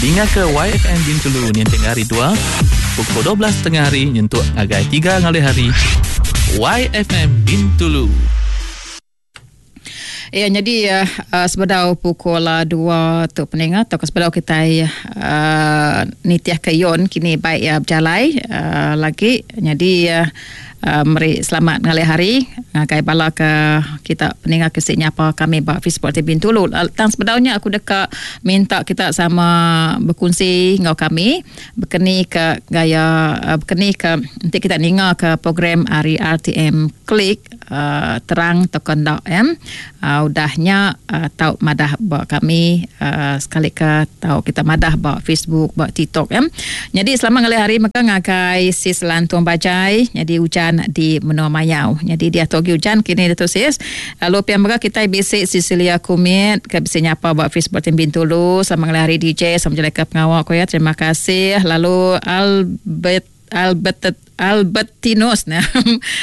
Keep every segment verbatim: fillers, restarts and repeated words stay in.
Ninga ke Y F M Bintulu ninting hari dua pukul dua belas tengah hari nyentuk ngagai tiga ngalih hari. Y F M Bintulu. Ya, jadi uh, sebedau pukul dua tu peningat atau sebedau kita uh, nitiah ke yon kini baik ya berjalai uh, lagi. Jadi uh, uh, meri selamat ngalih hari ngagai bala ke kita peningat ke sik nyapa kami ba Facebook T V Bintulu. Tang sebedaunya aku deka minta kita sama berkongsi ngau kami berkeni ke gaya uh, berkeni ke nanti kita ninga ke program hari R T M Klik uh, terang atau kendak ya. Uh, udahnya uh, tau madah ba kami uh, sekali ke tau kita madah ba Facebook ba TikTok ya. Jadi selamat ngalih hari maka ngagai sis Lantung Bajai jadi hujan di Menua Mayau. Jadi dia togi hujan kini dia sis. Lalu pian mega kita bisik Cecilia Kumit ke bisik nyapa ba Facebook Tim Bintulu. Selamat ngalih hari D J sama jelai ke pengawal ko ya. Terima kasih. Lalu Albert Albert Albertinus nah.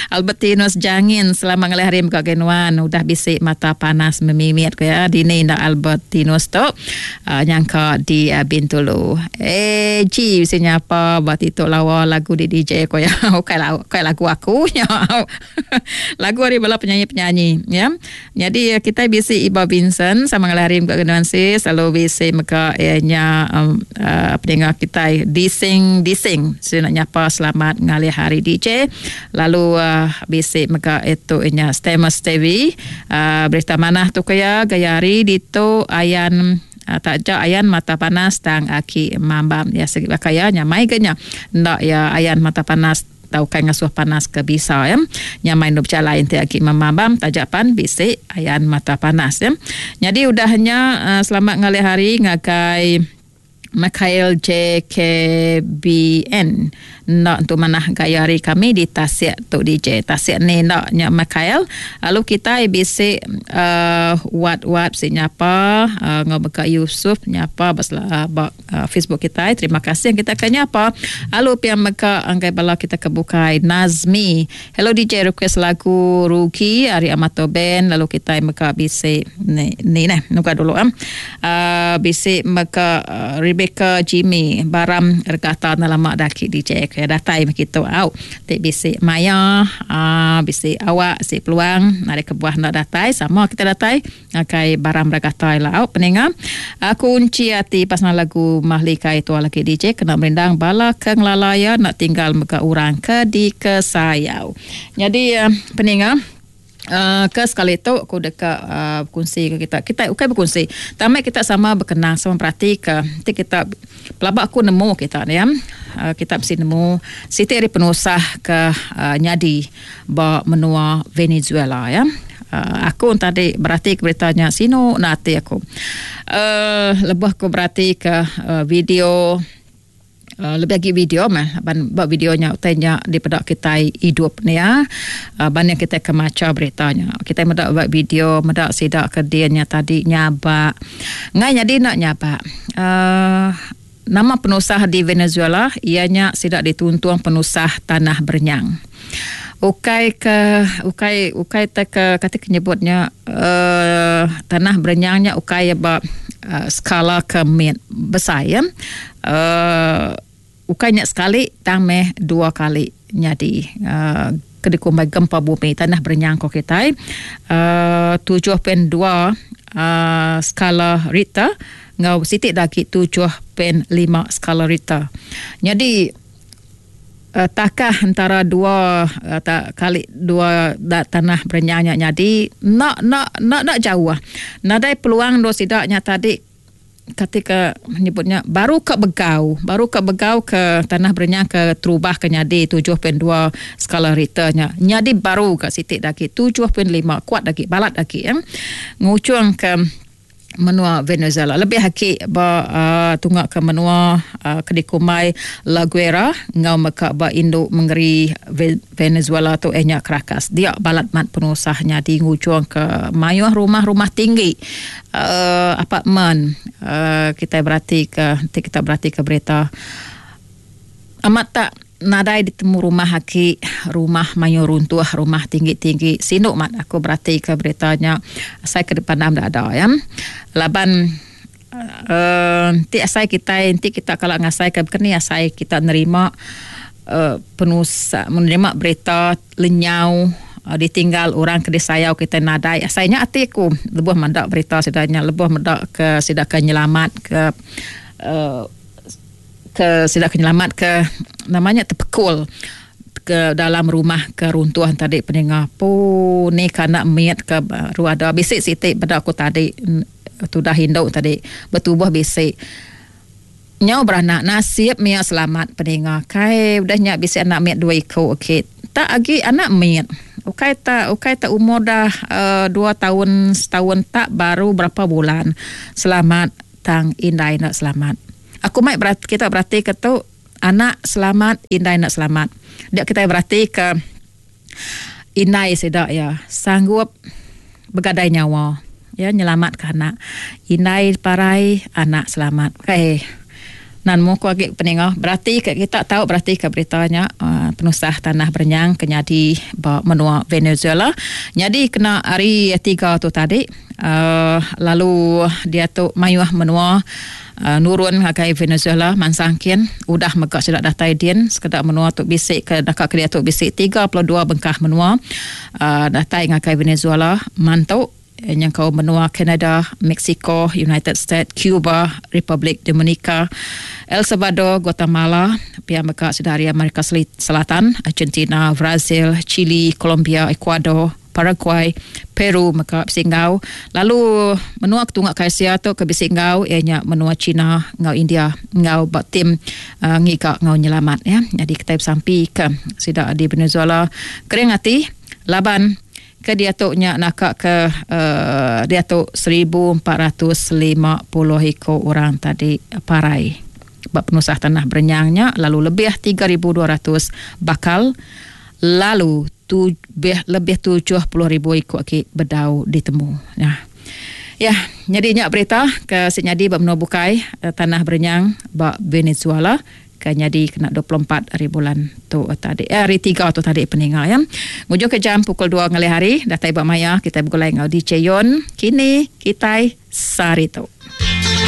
Albertinus Jangin selamat ngalih hari mega genuan udah bisik mata panas memimit ko ya dini ndak Albertinus tu uh, nyangka di uh, Bintulu. Eh G bisik nyapa ba tituk lawa lagu di D J ko ya. Okey lah, okey lagu aku nya. Lagu hari bala penyanyi-penyanyi ya. Jadi kita bisik Iba Vincent sama ngalih hari mega genuan sis lalu bisik mega ianya um, uh, pendengar kita dising dising saya nak nyapa selamat ngalih hari D J lalu uh, bisik mega itu inya Stemus T V uh, berita manah tu kaya gaya hari ditu ayan uh, tak jak ayan mata panas tang aki mambam ya segi bakaya nyamai genya ndak ya ayan mata panas tau kai ngasuh panas ke bisa ya nyamai nu berjalan ente aki mamam tajapan bisik ayan mata panas ya. Jadi udahnya uh, selamat ngalih hari ngagai Mikhail J K B N nak untuk manah gaya hari kami di Tasik tu D J Tasik ni nak nyak Mikhail. Lalu kita bisik uh, wat-wat si nyapa uh, ngobeka Yusuf nyapa basla uh, uh, Facebook kita. Terima kasih yang kita akan nyapa. Lalu pian meka anggai bala kita kebukai Nazmi. Hello D J request lagu Ruki ari Amato Band. Lalu kita meka bisik ni ni nah nuka dulu am. Uh, bisik meka uh, Rebecca Jimmy Baram regata lama daki D J ke datai begitu au tik bisik maya uh, bisik awak si peluang ada kebuah nak datai sama kita datai akai Baram regata la au peninga aku kunci hati pasal lagu Mahlika itu lagi D J kena merindang bala ke ngelalaya nak tinggal mega urang ke di kesayau. Jadi uh, peninga Uh, ke sekali tu aku dekat uh, berkongsi ke kita. Kita bukan berkongsi. Tamai kita sama berkenang sama perhati ke. Nanti kita pelabak aku nemu kita ni ya. Uh, kita mesti nemu siti hari penusah ke uh, nyadi ba menua Venezuela ya. Uh, aku tadi berarti ke beritanya sino nati aku. Uh, lebih aku berarti ke uh, video Uh, lebih lagi video mah ban buat videonya utainya di pedak kita hidup ni ya. Uh, ban yang kita kemaca beritanya. Kita medak buat video medak sidak ke dianya tadi nyabak. Ngai jadi nak nyabak. Uh, nama penusah di Venezuela ianya sidak dituntung penusah tanah bernyang. Ukai ke ukai ukai tak ke kata kenyebutnya uh, tanah berenyangnya ukai ba uh, skala ke mit besar ya. Uh, ukainya sekali tang meh dua kali nyadi uh, kedikumbai gempa bumi tanah berenyang ko kita uh, tujuh perpuluhan dua uh, skala Richter ngau sitik lagi tujuh perpuluhan lima skala Richter. Jadi Uh, takah antara dua uh, tak kali dua da, tanah berenyangnya jadi nak nak nak nak jauh. Nadai peluang do sidaknya tadi ketika menyebutnya baru ke begau, baru ke begau ke tanah berenyang ke terubah ke nyadi tujuh perpuluhan dua skala Richternya. Nyadi baru ke sitik lagi tujuh perpuluhan lima kuat lagi balat lagi ya. Ngucung ke menua Venezuela lebih haki ba uh, tunggak ke menua uh, kedikumai La Guaira ngau meka ba induk mengeri Venezuela tu ehnya Caracas dia balat mat penusahnya di ngujuang ke mayuh rumah-rumah tinggi uh, apartmen uh, kita berarti ke nanti kita berarti ke berita amat tak nadai ditemu rumah haki rumah mayu runtuh rumah tinggi-tinggi sinuk mat aku berarti ke beritanya saya ke depan dah ada ya laban uh, Ti asai kita enti kita kalau ngasai ke keni asai kita nerima uh, penusa menerima berita lenyau uh, ditinggal orang ke disayau kita nadai asainya ati aku lebuh mendak berita sidanya lebuh mendak ke sida ke nyelamat ke uh, ke sida ke nyelamat ke namanya terpekul ke dalam rumah keruntuhan tadi peninga pu ni kana miat ke baru ada bisik sitik pada aku tadi tudah induk tadi bertubuh bisik nyau beranak nasib mia selamat peninga kai udah nyak bisik anak miat dua iko okey tak agi anak miat ukai tak ukai tak umur dah uh, dua tahun setahun tak baru berapa bulan selamat tang indai nak selamat aku mai berat, kita berarti ke tu anak selamat indai nak selamat dia kita berarti ke indai sedak ya sanggup begadai nyawa ya nyelamat ke anak indai parai anak selamat okey nan mu ku agi peninga berarti ke kita tahu berarti ke beritanya uh, penusah tanah berenyang kenyadi ba menua Venezuela jadi kena hari tiga tu tadi uh, lalu dia tu mayuh menua uh, nurun ngagai Venezuela mansangkin udah megak sudah datai din sekedar menua tu bisik ke dekat ke dia tu bisik tiga puluh dua bengkah menua uh, datai ngagai Venezuela mantu yang kau menua Canada, Mexico, United States, Cuba, Republic Dominica, El Salvador, Guatemala, pihak mereka dari Amerika Selatan, Argentina, Brazil, Chile, Colombia, Ecuador, Paraguay, Peru, mereka bisingau. Lalu menua ketunggak ke Asia tu ke bisingau ianya menua China, ngau India, ngau bak tim uh, ngigak ngau nyelamat ya. Jadi kita sampai ke sidak di Venezuela kering hati laban ke dia tu nya nakak ke uh, dia tu seribu empat ratus lima puluh iko orang tadi parai bab penusah tanah berenyangnya lalu lebih tiga ribu dua ratus bakal lalu tu, lebih tujuh puluh ribu iko ki bedau ditemu. Nah. Ya, jadi nya berita ke senyadi bab menua bukai tanah berenyang bab Venezuela ke nyadi kena dua puluh empat hari bulan tu tadi eh, hari tiga tu tadi peninga ya. Ngujuk ke jam pukul dua ngalih hari datai bak maya kita bergulai ngau D J Yon kini kita sari tu.